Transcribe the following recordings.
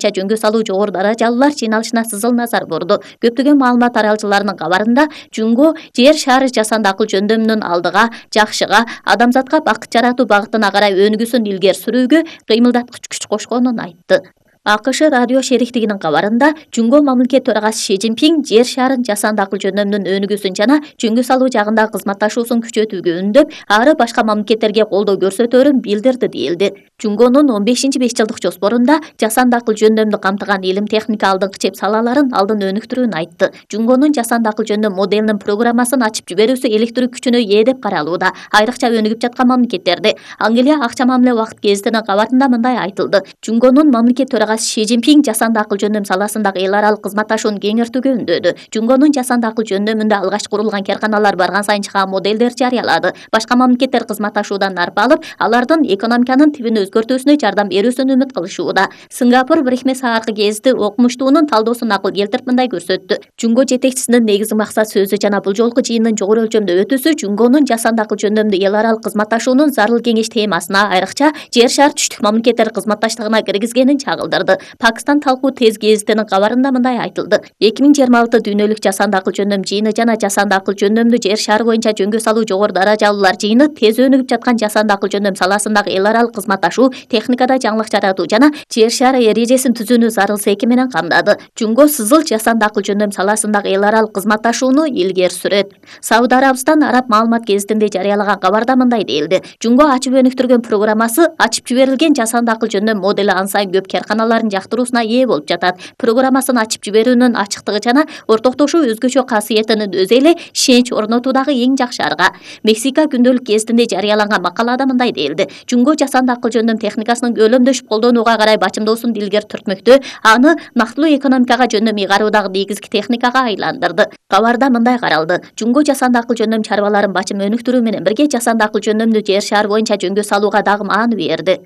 жөнгө салуу жогору даражалуулар жыйналышына сызыл назар бурду. Көптөгөн маалымат таралчыларынын кабарында Жунго жер шары жасанды акыл жөндөмүнүн алдыга, жакшыга, адамзатка бакыт жаратуу багытына карай өнүгүүсүн илгери сүрүүгө кыймылдаткыч күч кошконун айтты. АКШ радио шериктигинин кабарында Жунго мамлекет төрагасы Ши Цзиньпин жер шарын жасанды акыл жөндөмүнүн өнүгүүсүн жана жөнгө салуу жагындагы кызматташуусун күчөтүүгө үндөп, ары башка мамлекеттерге колдоо көрсөтөөрүн билдирди дейилди. Жунгонун 15-5 жылдык жоспорунда жасанды акыл жөндөмдү камтыган илим техника алдыңкы чеп салаларын алдын өнүктүрүүнү айтты. Жунгонун жасанды акыл жөндөм моделинин программасын ачып жиберүүсү электр күчүнө ээ деп каралууда. Айрыкча өнүгүп жаткан мамлекеттерде. Англия акча мамиле убакыт гезитинин кабарында мындай айтылды. Жунгонун мамлекет төрагасы Ши Цзиньпин жасанды акыл жөндөм саласындагы эл аралык кызматташууну кеңейтүүгө үндөдү. Жунгонун жасанды акыл жөндөмүндө алгач курулган карканалар барган сайын чыган моделдер жарыялады. Башка мамлекеттер кызматташуудан нарп алып, алардын экономиканын тибин өзгөртүүсүнө жардам берүүсүн үмүт кылышууда. Сингапур Брехме сааркы гезити окумуштуунун талдоосун акыл келтирип мындай көрсөттү. Жунго жетекчисинин негизги максат сөзү жана бул жолку жыйындын жогору өлчөмдө өтүүсү Жунгонун жасанды акыл жөндөмдүү эл аралык кызматташуунун зарыл кеңеш темасына, айрыкча жер шар түштүк мамлекеттер кызматташтыгына киргизгенин чагылдырды. Пакистан талкуу тез гезитинин кабарында мындай айтылды. 2026 дүйнөлүк жасанды акыл жөндөм жыйыны жана жасанды акыл жөндөмдүү жер шары боюнча жөнгө салуу жогору даражалуулар жыйыны тез өнүгүп жаткан жасанды акыл жөндөм саласындагы эл аралык кызматташуу, техникада жаңылык жаратуу жана жер шары эрежесин түзүүнү зарыл секи менен камдады. Жунго сызыл жасанды акыл жөндөм саласындагы эл аралык кызматташууну илгери сүрөт. Сауд Арабистан араб маалымат гезитинде жарыялаган кабарда мындай дейилди. Жунго ачып өнүктүргөн программасы ачып жиберилген жасанды акыл жөндөм модели ан сайын көп карканаларын жактыруусуна ээ болуп жатат. Программасын ачып жиберүүнүн ачыктыгы жана ортоктошуу өзгөчө касиетинин өзү эле ишенич орнотуудагы эң жакшы арга. Мексика күндөлүк гезитинде жарыяланган макалада мындай дейилди. Жунго жасанды акыл жөндөм техникасынын көлөмдөшүп колдонууга карай бачымдоосун илгери түртмөктө, аны нактылуу экономикага жөндөм ыйгаруудагы негизги техникага айландырды. Кабарда мындай каралды. Жунго жасанды акыл жөндөм чарбаларын бачым өнүктүрүү менен бирге жасанды акыл жөндөмдүү жер шары боюнча жөнгө салууга дагы мааны берди.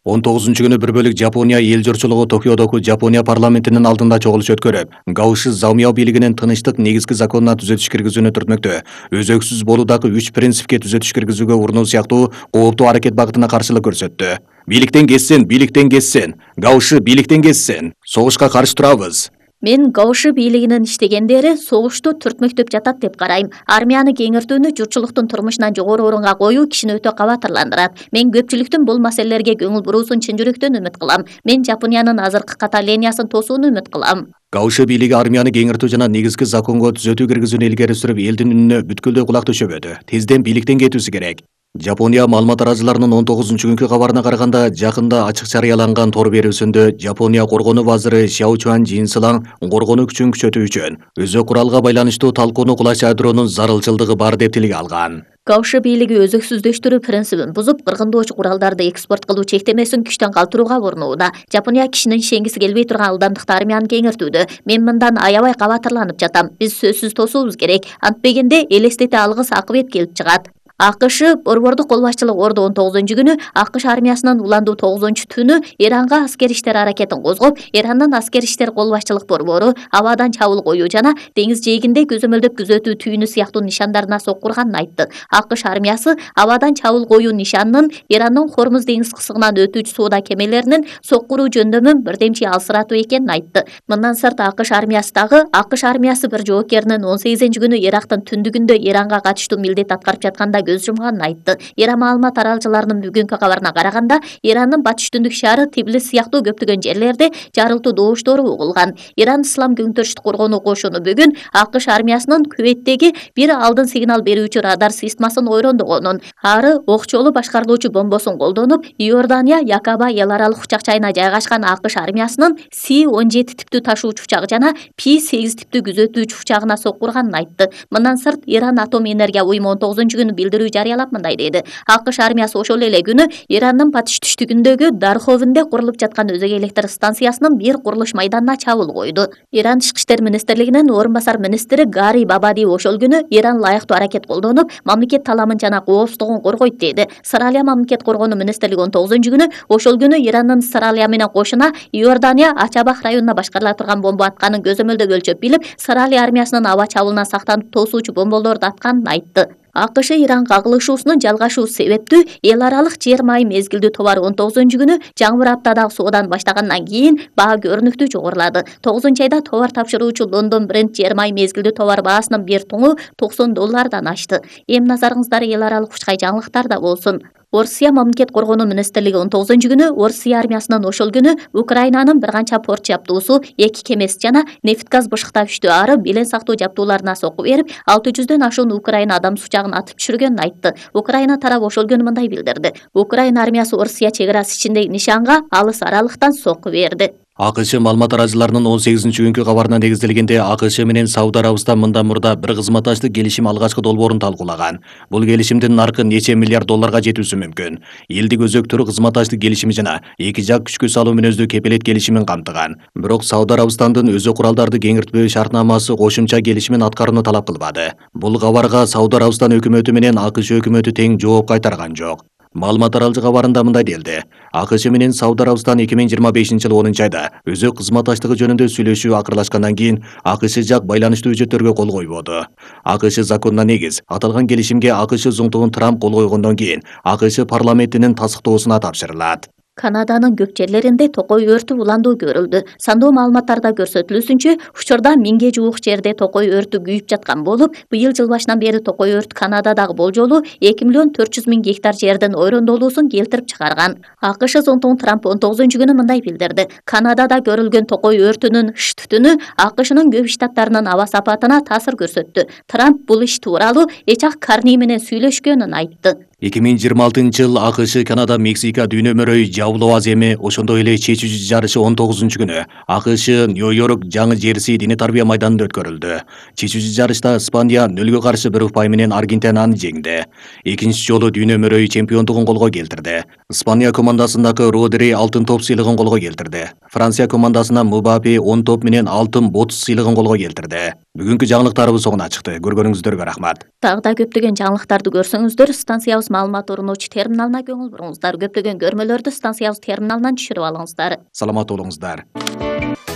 19-күнү бір бөлүк Жапония эл журтчулугу Токиодогу Жапония парламентинин алдында чогулуш өткөрүп, Гаоши Заумяо бийлигинин тынычтык негизги законуна түзөтүш киргизүүнү түртмөктө. Өзөксүз болуудагы 3 принципке түзөтүш киргизүүгө урунуу сыяктуу кооптуу аракет багытына каршылык көрсөттү. Бийликтен кетсин, Гаоши бийликтен кетсин. Согушка каршы турабыз. Мен Гаоши бийлигинин иштегендери согушту түртмөктөп жатат деп карайм. Армияны кеңиртүүнү журтчулуктун турмушунан жогору орунга коюу кишини өтө кабатырландырат. Мен көпчүлүктүн бул маселелерге көңүл буруусун чын жүрөктөн үмүт кылам. Мен Жапониянын азыркы каталениясын тосууну үмүт кылам. Гаоши бийлиги армияны кеңиртүү жана негизги законго түзөтүү киргизүүнү илгери сүрүп, элдин үнүнө бүткүлдөй кулак төшөбөдү. Тезден бийликтен кетүүсү керек. Жапония маалымат тараачыларынын 19-күnkү кабарына караганда, жакында ачык жарыяланган тор берүүсүндө Жапония коргонуу вазыры Шао Чуан Жинсилаң коргонуу күчүн күчөтүү үчүн өзү куралга байланыштуу талкууну кулаш ядроонун зарылчылдыгы бар деп тилге алган. Гаоши бийлиги өзөксүздөштүрүү принцибин бузуп, кыргындоочу куралдарды экспорт кылуу чектемесин күчтөн калтырууга урунууда. Жапония кишинин ишенгиси келбей турган ылдамдыкта армияны кеңиртүүдө. Мен мындан аябай кабатырланып жатам. Биз сөзсүз тосуубуз керек. Антпегенде элестете алгыс акыбет келип чыгат. АКШ борбордук кол башчылык Ордо 19-күнү АКШ армиясынын уландуу 9-түнү Иранга аскер иштер аракетин козгоп, Ирандын аскер иштер кол башчылык борбору абадан чабуул коюу жана деңиз жээгинде көзөмөлдөп күзөтүү түйүнү сыяктуу нишандарына соккурганын айтты. АКШ армиясы абадан чабуул коюу нишанынын Ирандын Хормуз деңиз кысыгынан өтүүчү соода кемелеринин соккуруу жөндөмүн бирдемчи алсыратуу экенин айтты. Мындан сырт АКШ армиясы бир жоокеринин 18-күнү Ирактын түндүгүндө Иранга катыштуу милдет аткарып жатканда көз жумганын айтты. Иран маалымат таралчыларынын бүгүнкү кабарына караганда, Ирандын батыш түндүк шаары Тбилис сыяктуу көптөгөн жерлерде жарылтуу добуштору угулган. Иран Ислам көңтөрүштүк коргонуу кошуну бүгүн АКШ армиясынын Кувейттеги бир алдын сигнал берүүчү радар системасын ойрондогонун, ары окчолуу башкарылуучу бомбосун колдонуп, Иордания Якаба эл аралык учак жайына жайгашкан АКШ армиясынын С-17 типтүү ташуучу учак жана P-8 типтүү күзөтүүчү учагына соккурганын айтты. Мындан сырт Иран атом энергия уюму 19-күнү билдирүү жарыялап мындай деди. АКШ армиясы ошол эле күнү Ирандын батыш түштүгүндөгү Дарховинде курулуп жаткан өзөк электр станциясынын бир курулуш майданына чабуул койду. Иран Тышкы иштер министрлигинин орун басар министри Гари Бабади ошол күнү Иран лайыктуу аракет колдонуп, мамлекет таламын жана коопсуздугун коргойт деди. Сыралия мамлекет коргонуу министрлиги 19-күнү ошол күнү Ирандын Сыралия менен кошуна Иордания Ачабах районуна башкарыла турган бомба атканын көзөмөлдөп өлчөп билип, Сыралия армиясынын аба чабуулунан сактанып тосуучу бомболорду атканын айтты. АКШ Иран кагылышуусунун жалгашуу себептүү эл аралык жер майы мезгилдүү товар 19-күнү жаңбыр аптадагы соодан баштагандан кийин баа көрүнүктүү жогорулады. 9-айда товар тапшыруучу Лондон бренд жер майы мезгилдүү товар баасынын бир туңу $90 ашты. Эми назарыңыздар эл аралык учкай жаңылыктарда болсун. Орусия мамлекет коргонуу министрлиги 19-күнү Орусия армиясынын ошол күнү Украинанын бир канча порт жаптуусу, 2 кемеси жана нефть газ бышыктап иштөө ары белен сактоо жаптууларына сокку берип, 600дөн ашуун Украина адам сучагын атып түшүргөнүн айтты. Украина тарабы ошол күнү мындай билдирди. Украина армиясы Орусия чек арасы ичиндеги нишанга алыс аралыктан сокку берди. АКШ маалымат тараачыларынын 18-күнкү кабарына негизделгенде АКШ менен Сауд Арабистан мындан мурда бир кызматташтык келишим алгачкы долбоорун талкуулаган. Бул келишимдин наркы нече миллиард долларга жетүүсү мүмкүн. Элдик өзөктөр кызматташтык келишими жана эки жак күчкө салуу мүнөздүү кепилет келишимин камтыган. Бирок Сауд Арабистандын өзү куралдарды кеңиртпөө шартнамасы кошумча келишимин аткарууну талап кылбады. Бул кабарга Сауд Арабистан өкмөтү менен АКШ өкмөтү тең жооп кайтарган жок. Маалымат таралчы кабарында мындай делди. АКШ менен Сауд Арабистан 2025-жылы 10-айда өзөк кызматташтыгы жөнүндө сүйлөшүү акырлашкандан кийин АКШ жак байланыштуу үчөттөргө кол койбоду. АКШ законуна негиз аталган келишимге АКШ зуңтугун Трамп кол койгондон кийин АКШ парламентинин тастыктоосуна тапшырылат. Канаданын көк жерлеринде токой өртү уландуу көрүлдү. Сандуу маалыматтарда көрсөтүлүүсүнчө, учурда 1000ге жуук жерде токой өртү күйүп жаткан болуп, быйыл жыл башынан бери токой өрт Канададагы болжолу 2.400.000 гектар жердин ойрондолуусун келтирип чыгарган. АКШ зонтугун Трамп 19-күнү мындай билдирди. Канадада көрүлгөн токой өртүнүн иш түтүнү АКШнын көп штаттарынын аба сапатына таасир көрсөттү. Трамп бул иш тууралуу Эчак Карни менен сүйлөшкөнүн айтты. 2026-жыл АКШ Канада Мексика дүйнө мөрөй жабылуу аз эми, ошондой эле чечүүчү жарышы 19-күнү АКШ Нью-Йорк жаңы Жерси диний тарбия майданында өткөрүлдү. Чечүүчү жарышта Испания 0-га каршы 1 упай менен Аргентинаны жеңди. Экинчи жолу дүйнө мөрөй чемпиондугун колго келтирди. Испания командасындагы Родри алтын топ сыйлыгын колго келтирди. Франция командасына Мбаппе 10 топ менен алтын бот сыйлыгын колго келтирди. Бүгүнкү жаңылыктарыбыз соңуна чыкты. Көргөнүңүздөргө рахмат. Дагы көптөгөн жаңылыктарды көрсөңүздөр станциябыз маалымат орунуучу терминалына көңүл буруңуздар. Көптөгөн көрмөлөрдү станциябыз терминалынан түшүрүп алыңыздар. Саламат болуңуздар.